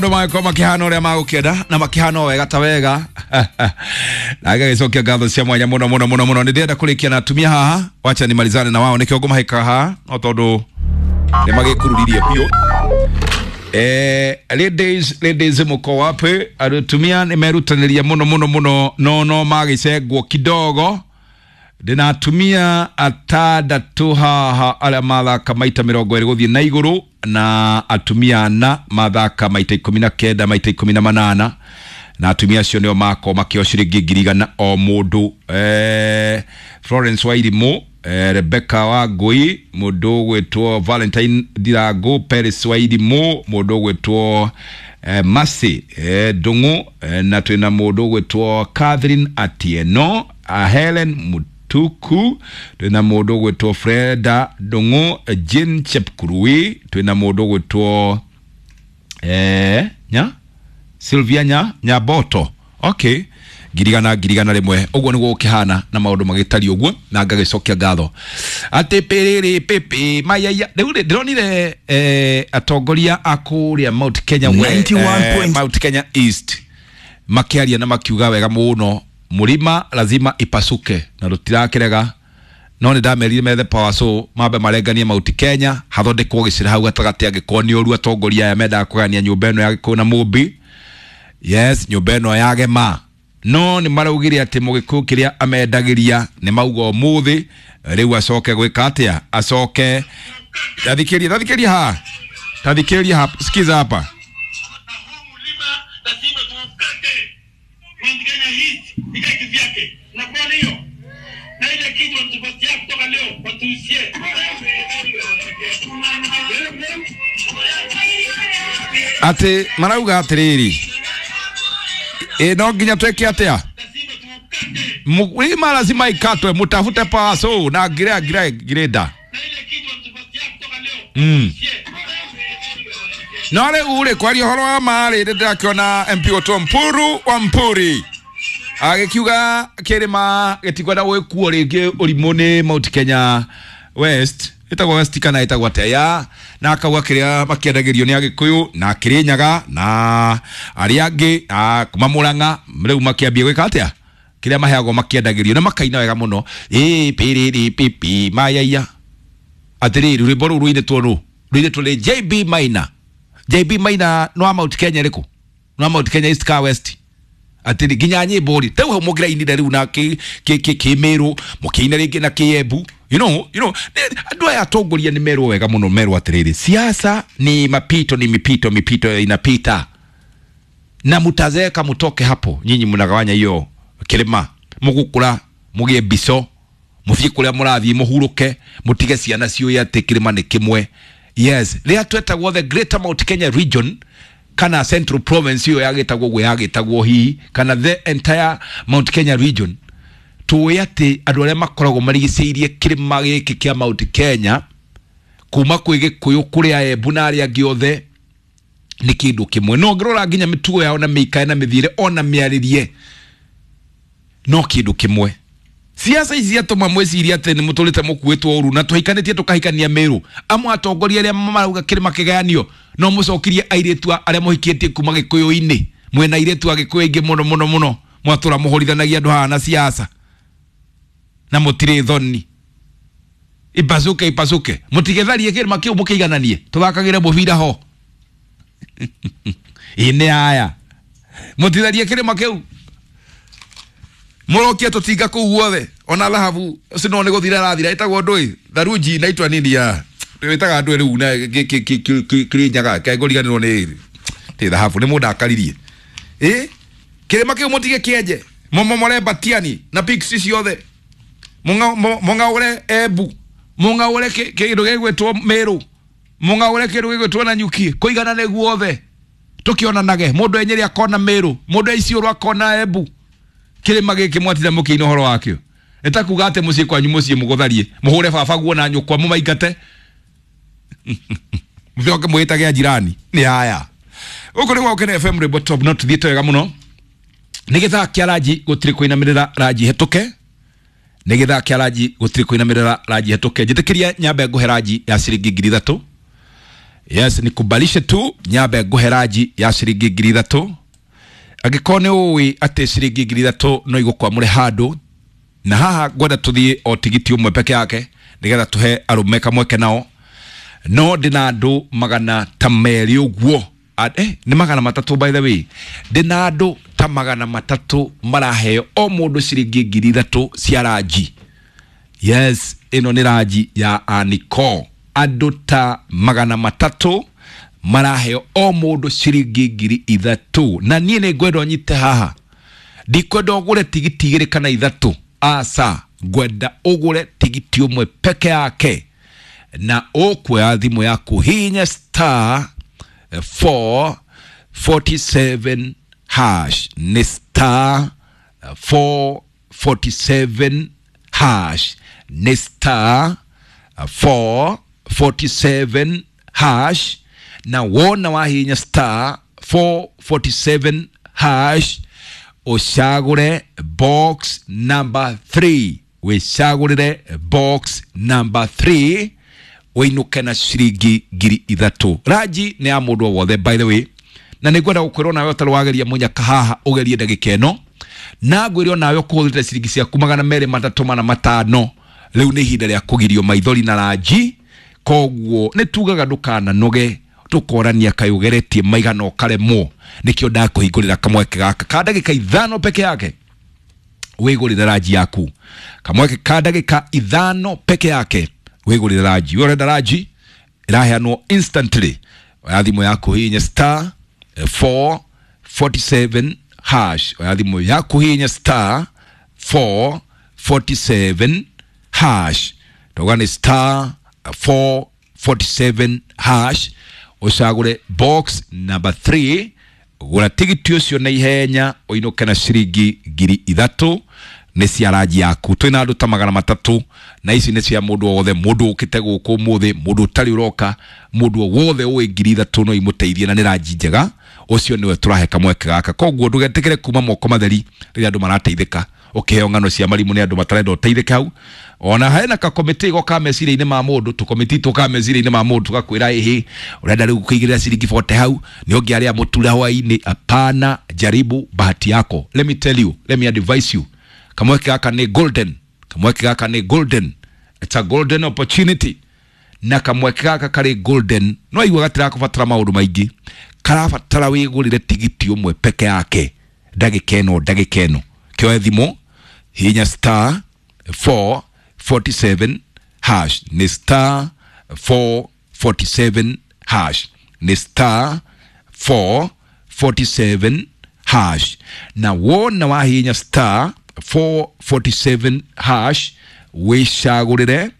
Maũndũ magĩkorwo makĩhana ũrĩa magũkĩenda na makĩhana o wega ta wega na ngagĩcokia ngatho cia mwanya mũno mũno mũno mũno. Nĩ ndĩrenda kũrĩkia na atumia haha, wacha nimalizane na wao nĩkĩo ngũmahĩka haha no tondũ nĩ magĩkururirie biũ. Ladies, ladies, mko wapi? Atumia nĩ merutanĩria mũno mũno mũno no no magĩcengwo kidogo. Ndĩna atumia atandatũ haha arĩa mathaka maita 20 gũthiĩ na igũrũ na atumia ana mathaka maita 19 maita 18 na atumia acio nĩo makorwo makĩo ciringi 100,000 o mũndũ. Florence Wairimu, Rebecca Wangui, mũndũ ũgwĩtwo Valentine Ndirangu, Paris Wairimu, mũndũ ũgwĩtwo Mercy Ndung'u, na twĩna mũndũ ũgwĩtwo Catherine Atieno, Helen Mutuku, twĩna mũndũ ũgwĩtwo Freda Ndung'u, Jane Chepkurui, twĩna mũndũ ũgwĩtwo nya Sylvia nya Nyaboto. Okay, 100,000 100,000 ũguo nĩguo gũkĩhana na maũndũ magĩtariĩ ũguo na ngagĩcokia ngatho atĩ pĩrĩrĩ pĩpĩ mayaya. Rĩu rĩ ndĩronire atongoria a kũrĩa Mount Kenya Mount Kenya East makĩaria na makiuga wega mũno mũrima lazima ipasuke na rũtirakĩrega no nĩ ndamerire methe power so mambe marenganie Mount Kenya hathondekwo gĩcĩra hau gatagatĩ angĩkorwo nĩ ũru atongoria aya mendaga kũgania nyũmba ĩno ya Gĩkũyũ na Mũmbi. Yes, nyũmba ĩno ya Gema no nĩ maraugire atĩ mũgĩkũyũ kĩrĩa amendagĩria nĩ mauga ũmũthĩ rĩu acoke gwĩka atĩa, acoke tathikĩria tathikĩria ha tathikĩria hapa, sikiza hapa. Na huu mlima lazima tuukate. Mount Kenya East ikae kivyake. Na kwa hiyo na ile kitu wanatupatia kutoka leo watuuzie. Atĩ marauga atĩrĩrĩ, ĩ no nginya twĩke atĩa, Lazima tuukate. mlima lazima ikatwe, mutafute power saw na ngira ngira ngirenda. Na ile kitu wanatupatia kutoka leo watuuzie. No rĩu rĩ kwaria ũhoro wa ma rĩ nĩndĩrakĩona MP Otto Mpuru wa Mpuri agĩkiuga kĩrĩma gĩtikwenda gwĩkuo rĩngĩ ũrimũ nĩ Mount Kenya West, ĩtagwo West kana ĩtagwo atĩa ya, na akauga kĩrĩa makĩendagĩrio nĩ Agĩkũyũ na Kĩrĩnyaga na arĩa angĩ kuma Mũrang'a rĩu makĩambia gwĩka atĩa kĩrĩa maheagwo makĩendagĩrio na makaina wega mũno ĩ pĩrĩrĩ pipi mayaiya. Atĩrĩrĩ rwĩmbo rũu rũinĩtwo nũ? Rũinĩtwo nĩ JB Maina. JB Maina no wa Mount Kenya rĩkũ? No wa Mount Kenya East ka West? Atĩrĩ nginya nyĩmbo rĩ rĩu hau mũngĩrainire rĩu na kĩmĩrũ mũkĩina rĩngĩ na kĩembu, you know, andũ aya atongoria nĩ merwo wega mũno, merwo atĩrĩrĩ siasa ni mapito, ni mipito, mipito inapita na mutazeeka mutoke hapo. Nyinyi mnagawanya hiyo kĩrĩma, mũgũkũra mũgĩe mbico mũthiĩ kũrĩa mũrathiĩ mũhurũke mũtige ciana ciũĩ atĩ kĩrĩma nĩ kĩmwe. Yes, rĩrĩa twetagwo the Greater Mount Kenya Region kana Central Province ĩyo yagĩtagwo ũguo yagĩtagwo hihi kana the entire Mount Kenya Region, tũĩ atĩ andũ arĩa makoragwo marigicĩirie kĩrĩma gĩkĩ kĩa Mount Kenya kuma kwĩ Gĩkũyũ kũrĩa Embu na arĩa angĩ othe nĩ kĩndũ kĩmwe. No ngĩrora nginya mĩtugo yao na mĩikare na mĩthiĩre ona mĩarĩrie no kĩndũ kĩmwe. Siasa ici ciatũma mwĩcirie atĩ nĩ mũtũrĩte mũkuĩtwo ũru na tũhikanĩtie tũkahikania Mĩrũ. Amwe atongoria arĩa marauga kĩrĩma kĩgayanio no mũcokirie airĩtu arĩa mũhikĩtie kuma Gĩkũyũ-inĩ, mwĩna airĩtu a Gĩkũyũ aingĩ mũno mũno mũno, mwatũra mũhũrithanagia andũ haha na siasa na mũtirĩ thoni. Ipasuke ipasuke, mũtigetharie kĩrĩma kĩu mũkĩigananie, tũthakagĩre mũbira ho. Ĩ nĩ aya mũtitharie kĩrĩma kĩu mũrokia tũtinga kũu guothe ona thahabu cino nĩ gũthira rathira ĩtagwo ndũĩ tharunji na itwa nini ya ĩtaga ndũĩ rĩu na Kĩrĩnyaga kengũriganĩrwo nĩ tĩ thahabu nĩ mũndũ akaririe ĩ kĩrĩma kĩu mũtige kĩenje mũmomore Batiani na Pixie ciothe mũng'aũre Embu mũng'aũre kĩndũ gĩgwĩtwo Mĩrũ mũng'aũre kĩndũ gĩgwĩtwo Nanyuki kũiganane guothe tũkĩonanage mũndũ e Nyĩrĩ akona Mĩrũ mũndũ e Isiolo akona Embu kĩrĩma gĩkĩ mwatira mũkĩina ũhoro wakĩo nĩ ta kuga atĩ mũciĩ kwanyu mũciĩ mũgũtharie mũhũre baba guo na nyũkwa mũmaingate mũcoke mwĩtage ajirani nĩ aya. Gũkũ nĩ gwa Gũkena FM rwĩmbo top no tũthiĩte wega mũno. Nĩ gĩthaa kĩa ranji gũtirĩ kũinamĩrĩra ranji hetũke, nĩ gĩthaa kĩa ranji gũtirĩ kũinamĩrĩra ranji hetũke. Njĩtĩkĩria nyambe ngũhe ranji ya ciringi 3,000. Yes, nikubalishe tu nyambe nguhe ranji ya ciringi 3,000. Angĩkorwo nĩ ũĩ atĩ ciringi 3,000 no igũkwamũre handũ, na haha ngwenda tũthiĩ o tigiti ũmwe peke yake nĩgetha tũhe arũme kamweke nao. No ndĩna andũ magana ta merĩ ũguo. Nĩ 300 by the way. Ndĩna andũ ta 300 maraheo o mũndũ ciringi 3,000 cia ranji. Yes, ĩno nĩ ranji ya Aniko. Andũ ta 300 maraheo o mũndũ ciringi 3,000. Na niĩ nĩ ngwenda ũnyite haha. Ndikwenda ũgũre tigiti 2 kana 3. Aca, ngwenda ũgũre tigiti ũmwe peke yake. Na ũkuoya thimũ yaku hinya star 447 hash. Nĩ star 447 hash. Nĩ star 447 hash. Na wona wahinya star 447 hash ũcagũre box number 3. Wĩcagũrĩre box number 3 ũinũke na ciringi 3,000. Ranji nĩ ya mũndũ o wothe by the way. Na nĩ ngwenda gũkwĩra onawe ũtarĩ wageria mũnyaka haha ũgerie ndagĩka ĩno. Na ngwĩre onawe ũkũhũthĩrĩte ciringi ciaku 200, 300, 400, 500. Rĩu nĩ ihinda rĩa kũgirio maithori na ranji. Koguo nĩ tugaga ndũkananoge, tũkorania kaĩ ũgeretie maigana ũkaremwo. Nĩkĩo ndakũhingũrĩra kamweke gaka ka ndagĩka 5 peke yake wĩgũrĩre ranji yaku. Kamweke ka ndagĩka 5 peke yake wĩgũrĩre ranji. We ũrenda ranji ĩraheanwo instantly. Oya thimũ yaku hihinya star 447 hash. Oya thimũ yaku hihinya star 447 hash. Tauga nĩ star 447 hash. Ũcagũre box number 3. Gũra tigiti ũcio na ihenya ũinũke na ciringi 3,000 nĩ cia ranji yaku. Twĩna andũ ta 300 na ici nĩ cia mũndũ o wothe, mũndũ ũkĩte gũkũ ũmũthĩ, mũndũ ũtarĩ ũroka, mũndũ o wothe ũĩ 3,000 no imũteithie na nĩ ranji njega. Ũcio nĩwe tũrahe kamweke gaka. Koguo ndũgetĩkĩre kuma moko matheri rĩrĩa andũ marateithĩka. Ũkĩheo ng'ano cia marimũ nĩ andũ matarenda ũteithĩke hau. Ona hena kakomiti go ka meciria-inĩ ma mũndũ, tũkomiti tũka meciria-inĩ ma mũndũ tũgakwĩra ĩhĩ, ũrenda rĩu kũigĩrĩra ciringi 40 hau, nĩ ũngĩarĩa mũtura hwaĩ-inĩ. Hapana, jaribu bahati yako. Let me tell you, let me advise you. Kamweke gaka nĩ golden. Kamweke gaka nĩ golden. It's a golden opportunity. Na kamweke gaka karĩ golden. No igua gatirakũbatara maũndũ maingĩ. Karabatara wĩgũrĩre tigiti ũmwe peke yake. Ndagĩka ĩno, ndagĩka ĩno. Kĩoe thimũ, hihinya star 447 hash. Nĩ star 447 hash. Nĩ star 447 hash. Na wona wahihinya star 447 hash wĩcagũrĩre